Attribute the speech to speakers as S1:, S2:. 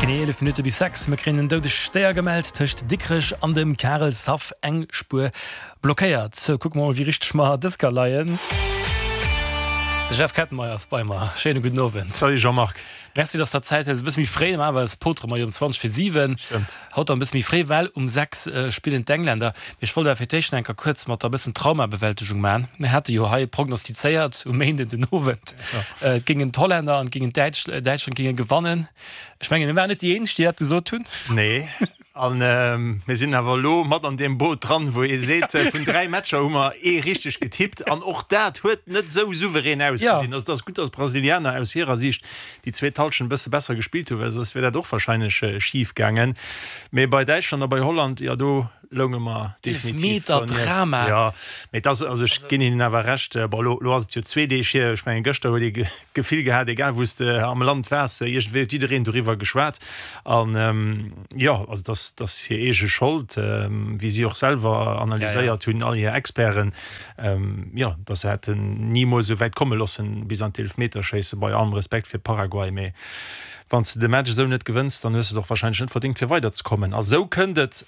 S1: Genee 11 Minutte bis 6. Mir kréien en doudegt Déier gemellt tëscht Dikrech an dem Karelshaff. Eng Spuer blockéiert. Sou, kucke mer mol, wéi richteg mer dës Kéier leien. De Jeff Kettenmeyer ass bei mer. Schéine gudden Owend.
S2: Salut Jean-Marc.
S1: Merci, dass der Zäit hues. E bësse méi fréi, normalerweis potere mer jo um 20 vir 7.
S2: Stëmmt.
S1: Haut dann e bësse méi fréi, well um 6 spillen d'Engländer. Mee ech wollt awer fir d'éischt nach eng Kéier kuerz mat der e bëssen Traumabewältegung maachen. Mir hate jo hei prognostizéiert um Méinden den Owend, et géingen d'Hollänner an et géingen d'Däitsch, Däitschland géinge gewannen. Ech mengen, mir waren net déi eenzeg, déi dat gesot hunn.
S2: Nee, a mir sinn awer elo mat an deem Boot dran, wou ee seet, vun 3 Matcher hu mer ee richteg getippt an och dat huet net esou souverän ausgesinn. Also et ass gutt, datt d'Brasilianer aus hirer Siicht déi zweet Hallschent e bësse besser gespillt hunn, well soss wier dat och warscheinlech schif gaangen. Mee bei Däitschland a bei Holland, jo do lounge mer definitiv
S1: donieft.
S2: Jo, mee et ass, also ech ginn hinnen awer Recht, bon elo ass et jo zwee Deeg hier, ech mengen gëschter huet ee d'Gefill gehat, egal wou s de am Land waars, iergendwéi huet jiddereen doriwwer geschwat. An jo, also et ass, et ass hir eege Schold, wéi si och selwer analyséiert hunn, all hir Experten, jo, datt se hätten nimools esou wäit komme loossen, bis an d'Eelfmeterschéisse, bei allem Respekt fir Paraguay, mee wann s de de Match esou net gewënns, dann hues de et och warscheinlech net verdéngt, fir weiderzekommen. A sou kënnt et.